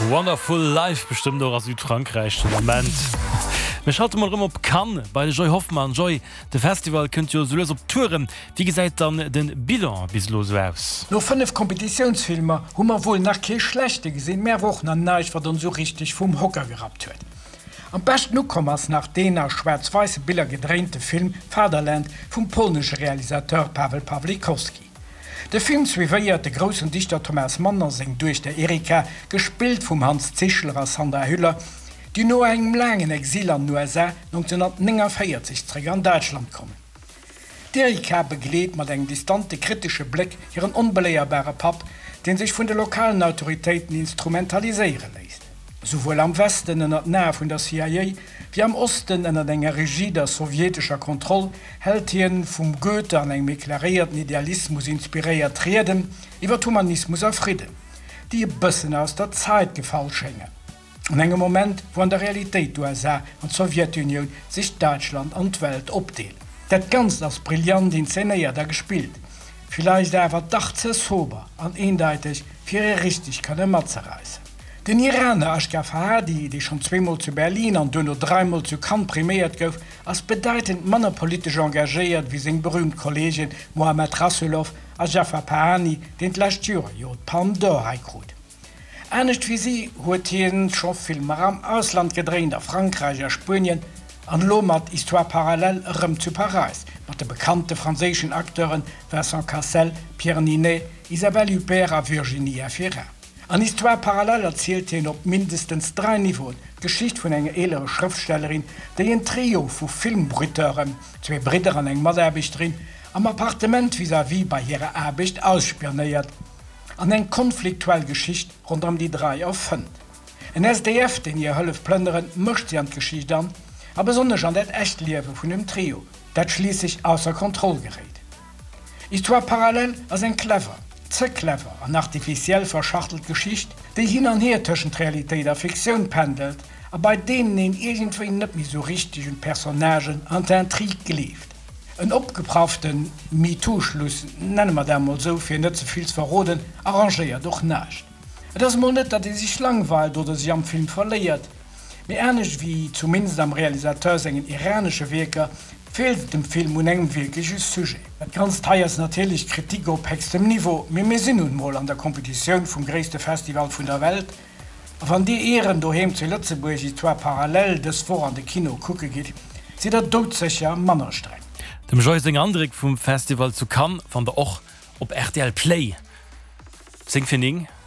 Wonderful Life, bestëmmt och a Südfrankräich den Ament. Mir schalte mol erëm op Cannes bei de Joy Hoffmann. Joy, de Festival kënnt jo esou lues op Touren. Wéi gesäit dann de Bilan bis elo esou aus? No 5 Kompetitiounsfilmer hu mer wuel nach kee schlechte gesinn, mä awer och nach näischt wat ons esou richteg vum Hocker gerappt huet. Am beschten ukomm ass nach deen a schwaarz-weisse Biller gedréinte Film Fatherland vum polnesche Realisateur Pawel Pawlikowski. De Film suivéiert de groussen Dichter Thomas Mann a seng Duechter Erika, gespillt vum Hanns Zischler a Sandra Hüller, déi no engem laangen Exil an den USA 1949 zréck an Däitschland kommen. D'Erika begleet mat engem distante kritesche Bléck hiren onbeléierbare Papp, dee sech vun de lokalen Autoritéiten instrumentaliséiere léisst. Souwuel am Westen ënner den Ae vun der CIA, wéi am Osten ënner enger rigider sowjetescher Kontroll, hält hien vum Goethe an engem éclairéierten Idealismus inspiréiert Rieden iwwer Humanismus a Fridden, déi e bëssen aus der Zait gefall schéngen. An engem Moment, wou an der Realitéit d'USA an d'Sowjetunioun sech Däitschland an d'Welt opdeelen. Dat Ganzt ass brillant inzenéiert a gespillt, villeicht awer dach ze sober an eendeiteg, fir ee richteg kënne matzereissen. Den Iraner Asghar Farhadi, dee schonn zweemol zu Berlin an duerno dräimol zu Cannes priméiert gouf, ass bedeitend manner politesch engagéiert wéi seng berüümt Kolleegen Mohammad Rasoulof a Jafar Pahani, deen d'lescht Joer jo d'Palme d'Or hei krut. Anescht wéi si huet hien scho Filmer am Ausland gedréint, a Frankräich, a Spuenien an elo mat Histoires parallèles erëm zu Paräis, mat de bekannte franséischen Acteuren Vincent Cassel, Pierre Niney, Isabelle Huppert a Virginie Efira. An Histoires parallèles erzielt hien op mindestens 3 Niveauen d'Geschicht vun enger eelere Schrëftstellerin, déi en Trio vu Filmbruiteuren, zwee Bridder an eng Mataarbechterin, am Appartement vis-à-vis bei hirer Aarbecht ausspionéiert. An eng konfliktuell Geschicht ronderëm déi 3 erfënnt. En SDF, deen hir hëlleft plënneren, mëscht si an d'Geschicht an, a besonnesch an dat echt Liewe vun dem Trio, dat schliisslech ausser Kontroll geréit. Histoires parallèles ass eng clever, ze clever an artificiell verschachtelt Geschicht, déi hin an hier tëschent Realitéit a Fiktioun pendelt a bei deenen een iergendwéi net méi sou richteg un d'Personnagen an d'Intrigue gleeft. En opgepraffte MeToo-Schluss, nenne mer dat mol sou, fir net ze vill ze verroden, arrangéiert och näischt. Et ass emol net, datt ee sech langweilt oder sech am Film verléiert, mee anescht ewéi zumindest am Realisateur sengen iranesche Wierker, feelt et dem Film un engem wierkleche Sujet. Dat Ganzt hei ass natierlech Kritik op héchstem Niveau, mee mir sinn nun mol an der Kompetitioun vum gréisste Festival vun der Welt, A wann dir Ieren doheem zu Lëtzebuerg Histoires parallèles dës Woch an de Kino kucke gitt, sidd der doudsécher manner streng. Dem Joy seng Andréck vum Festival zu Cannes fannt der och op rtl Play. 10 fir 9.